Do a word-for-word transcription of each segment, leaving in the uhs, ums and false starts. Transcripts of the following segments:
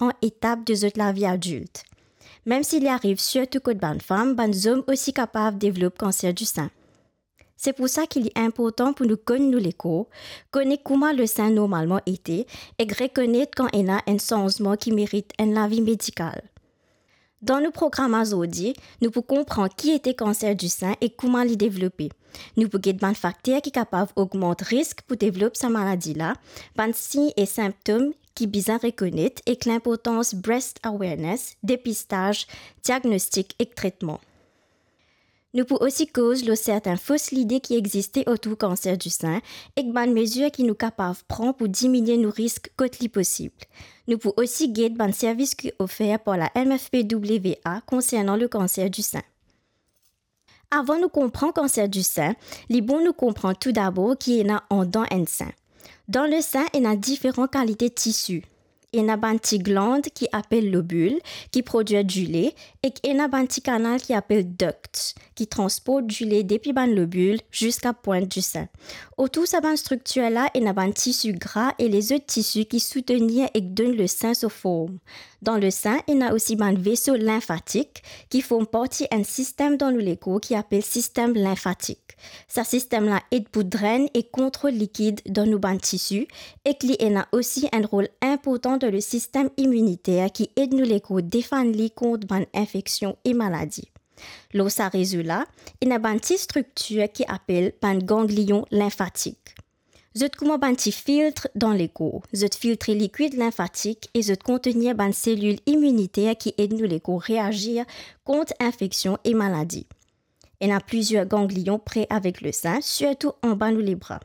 diferan etap de zot lavi adilt. Mem si li ariv sirtou kot bann fam, bann zom osi kapav devlop kanser disin. Se pou sa ki li inportan pou nou konn nou lekor, kone kouma lesin normalman ete, ek rekonet kan ena enn sanzman ki merit enn lavi medikal. Dan nou program azordi, nou pou konpran ki ete kanser disin e kouma li devlope. Nou pou get bann fakter ki kapav ogmant risk pou devlop sa maladi la, bann sign e sinptom ki bizin rekonet ek linportans breast awareness, depistaz, diagnostik ek tretman. Nou pou osi koz lor sertin fos lide ki existe otour kanser disin ek bann mezir ki nou kapav pran pou diminie nou risk kot li posib. Nou pou osi get bann servis ki ofer par la M F P W A konsernan lekanser disin. Avan nou konpran kanser disin, li bon nou konpran toudabor ki ena andan enn sin. Dan lesin, ena diferan kalite tisi. Ena bann ti gland ki apel lobil, ki prodwir dile, ek ena bann ti kanal ki apel ducts, ki transport dile depi bann lobil ziska pwint disin. Otour sa bann striktir la, ena bann tisi gra e lezot tisi ki soutenir ek donn lesin so form. Dan lesin, ena osi bann veso linfatik ki form parti enn sistem dan nou lekor ki apel sistem linfatik. Sa sistem la ed pou drenn e kontrol likid dan nou bann tisi, ek li ena osi enn rol inportan dan le sistem iminiter ki ed nou lekor defann li kont bann infeksion e maladi. Lor sa rezo la, ena bann ti striktir ki apel bann ganglion linfatik. Zot kouma bann ti filtr dan lekor. Zot filtre likwid linfatik e zot kontenir bann selil iminiter ki ed nou lekor reazir kont infeksion e maladi. Ena plizier ganglion pre avek lesin, sirtou anba nou lebra.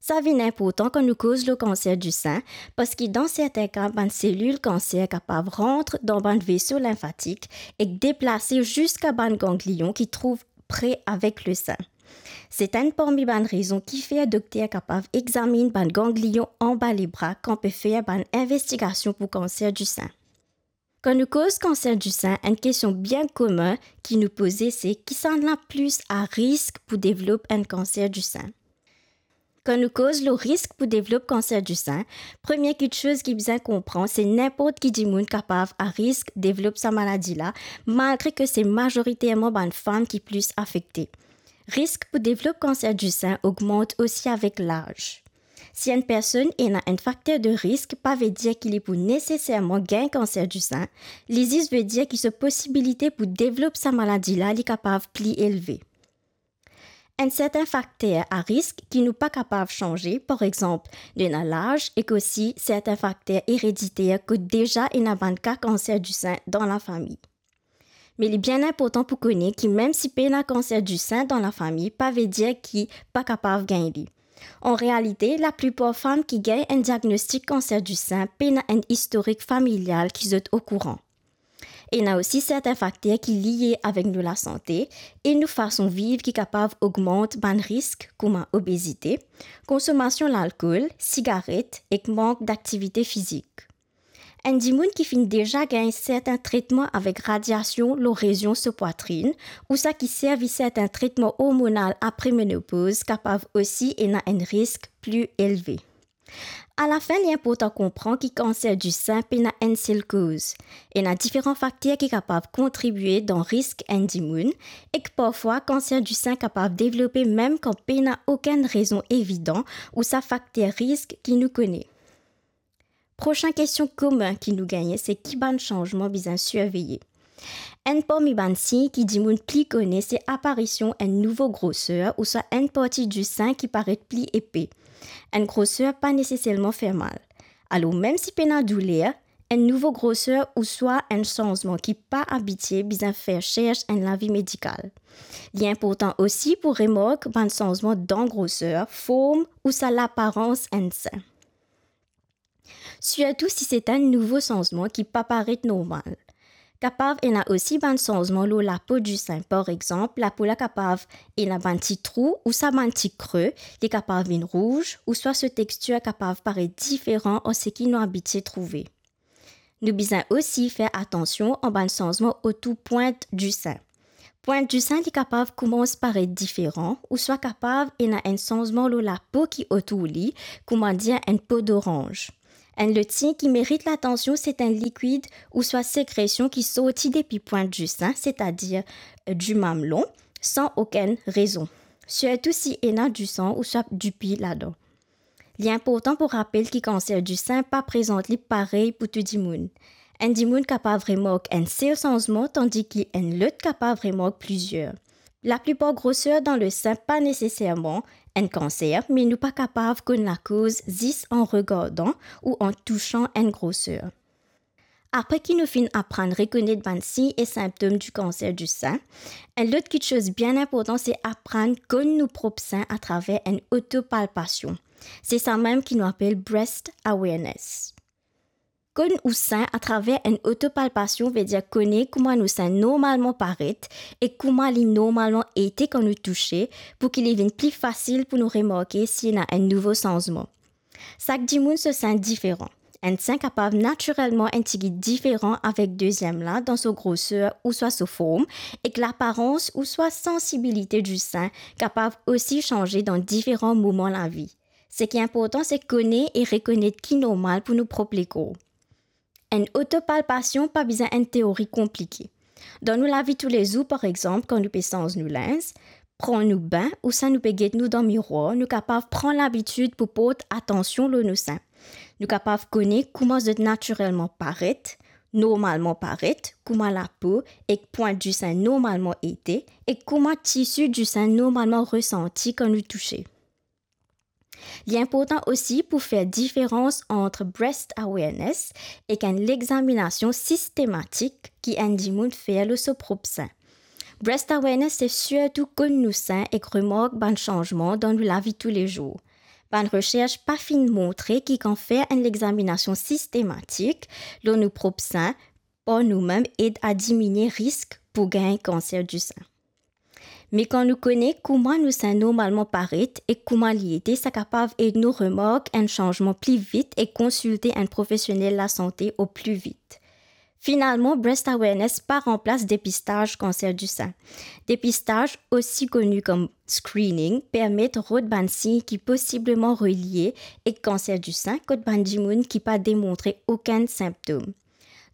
Sa vinn inportan kan nou koz lor kanser disin, parski dan sertin ka, bann selil kanser kapav rant dan bann veso linfatik ek deplase ziska bann ganglion ki trouv pre avek lesin. Se enn parmi bann rezon kifer dokter kapav examinn bann ganglion anba lebra kan pe fer bann investigasion pou kanser disin. Kan nou koz kanser disin, enn kestion bien komin ki nou poze se, kisannla plis a risk pou devlop enn kanser disin? Kan nou koz lor risk pou devlop kanser disin, premie kiksoz ki bizin konpran, se ninport ki dimoun kapav a risk devlop sa maladi la, malgre ke se mazoriterman bann fam ki plis afekte. Risk pou devlop kanser disin ogmant osi avek laz. Si enn personn ena enn fakter de risk, pa vedir ki li pou neseserman gagn kanser disin, li zis vedir ki so posibilite pou devlop sa maladi la, li kapav pli elve. Enn sertin fakter a risk ki nou pa kapav sanze, par exanp, nou ena laz ek osi sertin fakter erediter kot deza ena bann ka kanser disin dan lafami. Me li bien inportan pou kone ki mem si pena kanser disin dan lafami, pa vedir ki pa kapav gagn li. An realite, laplipar fam ki gagn enn diagnostik kanser disin pena enn istorik familial ki zot okouran. Ena osi sertin fakter ki lie avek nou lasante e nou fason viv ki kapav ogmant bann risk kouma obezite, konsomasion lalkol, sigaret ek mank daktivite fizik. Enn dimoun ki finn deza gagn sertin tretman avek radiasion lor rezion so pwatrinn, ou sa ki servi sertin tretman ormonal apre menopoz, kapav osi ena enn risk pli elve. Alafin, li inportan konpran ki kanser disin pena enn sel koz. Ena diferan fakter ki kapav kontribie dan risk enn dimoun, ek parfwa kanser disin kapav devlope mem kan pena okenn rezon evidan ou sa fakter risk ki nou kone. Prosin kestion komin ki nou gagne, se ki bann sanzman bizin sirveye. Enn parmi bann sign ki dimoun pli kone, se aparision enn nouvo groser ouswa enn parti disin ki paret pli epe. Enn groser pa neseserman fer mal. Alor, mem si pena douler, enn nouvo groser ouswa enn sanzman ki pa abitie bizin fer sers enn lavi medikal. Li inportan osi pou remark bann sanzman dan groser, form ouswa laparans enn sin. Sirtou si se enn nouvo sanzman ki pa paret normal. Kapav ena osi bann sanzman lor lapo disin. Par exanp, lapo la kapav ena bann ti trou ouswa bann ti kre, li kapav vinn rouz, ouswa so tekstir kapav paret diferan ar seki nou abitie trouve. Nou bizin osi fer atansion ar bann sanzman otour pwint disin. Pwint disin, li kapav koumans paret diferan, ouswa kapav ena enn sanzman lor lapo ki otour li, koumadir enn po doranz. Enn lot sign ki merit latansion, se enn likwid ouswa sekresion ki sorti depi pwint disin, setadir, eh, dimamlon, san okenn rezon. Sirtou si ena disan ouswa dipi ladan. Li inportan pou rapel ki kanser disin pa prezant li parey pou tou dimoun. Enn dimoun kapav remark enn sel sanzman, tandis ki enn lot kapav remark plizier. Laplipar groser dan lesin pa neseserman enn kanser, me nou pa kapav konn lakoz zis an regardan ou an tousan enn groser. Apre ki nou finn aprann rekonet bann sign e sinptom di kanser disin, enn lot kiksoz bien inportan, se aprann konn nou prop sin atraver enn otopalpasion. Se samem ki nou apel breast awareness. Konn ou sin atraver enn otopalpasion vedir kone kouma nou sin normalman paret e kouma li normalman ete kan nou touse, pou ki li vinn pli fasil pou nou remarke si ena enn nouvo sanzman. Sak dimoun so sin diferan. Enn sin kapav natirelman enn tigit diferan avek deziem la dan so groser ouswa so form, ek laparans ouswa sansibilite di sin kapav osi sanze dan diferan moman lavi. Seki inportan, se kone e rekonet ki normal pou nou prop lekor. Enn otopalpasion pa bizin enn teori konplike. Dan nou lavi toulezour, par exanp, kan nou pe sanz nou linz, pran nou bin, ouswa nou pe get nou dan mirwar, nou kapav pran labitid pou port atansion lor nou sin. Nou kapav kone kouma zot natirelman paret, normalman paret, kouma lapo ek pwint disin normalman ete, ek kouma tisi disin normalman resanti kan nou touse. Li inportan osi pou fer diferans ant breast awareness ek enn lexaminasion sistematik ki enn dimoun fer lor so prop sin. Breast awareness se sirtou konn nou sin ek remark bann sanzman dan nou lavi toulezour. Bann resers pa finn montre ki kan fer enn lexaminasion sistematik lor nou prop sin par noumem ed a diminie risk pou gagn kanser disin. Me kan nou kone kouma nou sin normalman paret ek kouma li ete, sa kapav ed nou remark enn sanzman pli vit e konsilte enn profesionel lasante o pli vit. Finalman, breast awareness pa ranplas depistaz kanser disin. Depistaz, osi koni kom screening, permet rod bann sign ki posibleman relie ek kanser disin kot bann dimoun ki pa demontre okenn sinptom.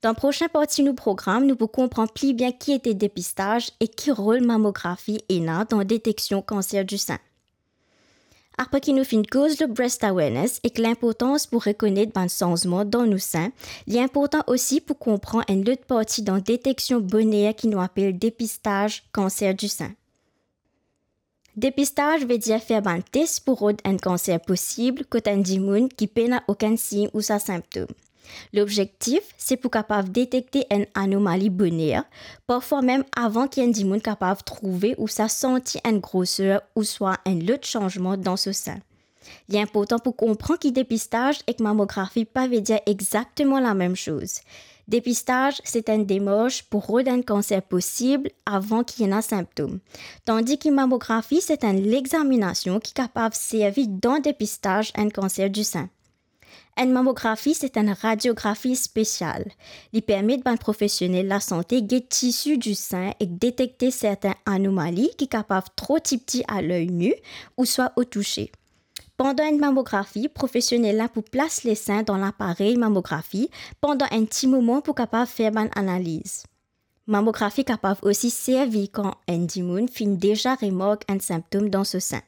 Dan prosin parti nou program, nou pou konpran pli bien ki ete depistaz e ki rol mamografi ena dan deteksion kanser disin. Apre ki nou finn koz lor breast awareness ek linportans pou rekonet bann sanzman dan nou sin, li inportan osi pou konpran enn lot parti dan deteksion boner ki nou apel depistaz kanser disin. Depistaz vedir fer bann tes pou rod enn kanser posib kot enn dimoun ki pena okenn sign ouswa sinptom. Lobzektif, se pou kapav detekte enn anomali boner, parfwa mem avan ki enn dimoun kapav trouve ouswa santi enn groser ouswa enn lot sanzman dan so sin. Li inportan pou konpran ki depistaz ek mamografi pa vedir exakteman lamem soz. Depistaz, se enn demars pou rod enn kanser posib avan ki ena sinptom. Tandi ki mamografi, se enn lexaminasion ki kapav servi dan depistaz enn kanser disin. Enn mamografi, se enn radiografi spesial. Li permet bann profesionel lasante get tisi disin ek detekte sertin anomali ki kapav tro tipti a ley ni ouswa o touse. Pandan enn mamografi, profesionel la pou plas lesin dan laparey mamografi pandan enn ti moman pou kapav fer bann analiz. Mamografi kapav osi servi kan enn dimoun finn deza remark enn sinptom dan so sin.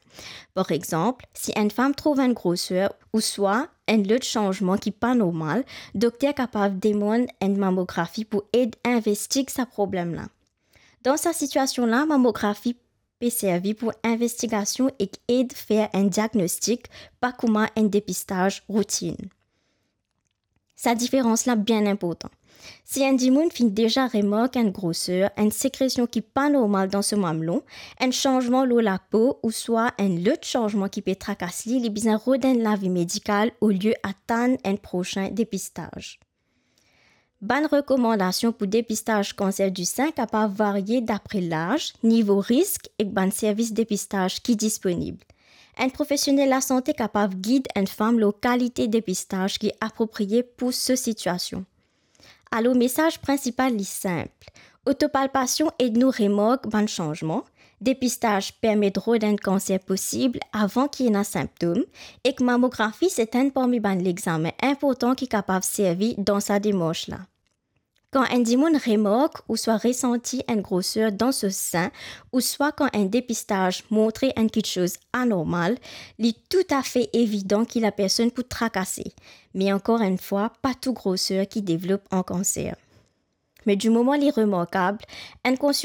Par exanp, si enn fam trouv enn groser ouswa enn lot sanzman ki pa normal, dokter kapav demann enn mamografi pou ed investig sa problem la. Dan sa sitiasion la, mamografi pe servi pou investigasion ek ed fer enn diagnostik, pa kouma enn depistaz routinn. Sa diferans la bien inportan. Si enn dimoun finn deza remark enn groser, enn sekresion ki pa normal dan so mamlon, enn sanzman lor lapo ouswa enn lot sanzman ki pe trakas li, li bizin rod enn lavi medikal olie atann enn prosin depistaz. Bann rekomandasion pou depistaz kanser disin kapav varie dapre laz, nivo risk ek bann servis depistaz ki disponib. Enn profesionel lasante kapav gid enn fam lor kalite depistaz ki apropriye pou so sitiasion. Alor, mesaz prinsipal li sinp. Otopalpasion ed nou remark bann sanzman, Depistaz permet rod enn kanser posib avan ki ena sinptom, ek mamografi se enn parmi bann lexame inportan ki kapav servi dan sa demars la. Kan enn dimoun remark ouswa resanti enn groser dan so sin, ouswa kan enn depistaz montre enn kiksoz anormal, li toutafe evidan ki lapersonn pou trakase. Me ankor enn fwa, pa tou groser ki devlop an kanser. Me dimoman li remarkab, enn konsil-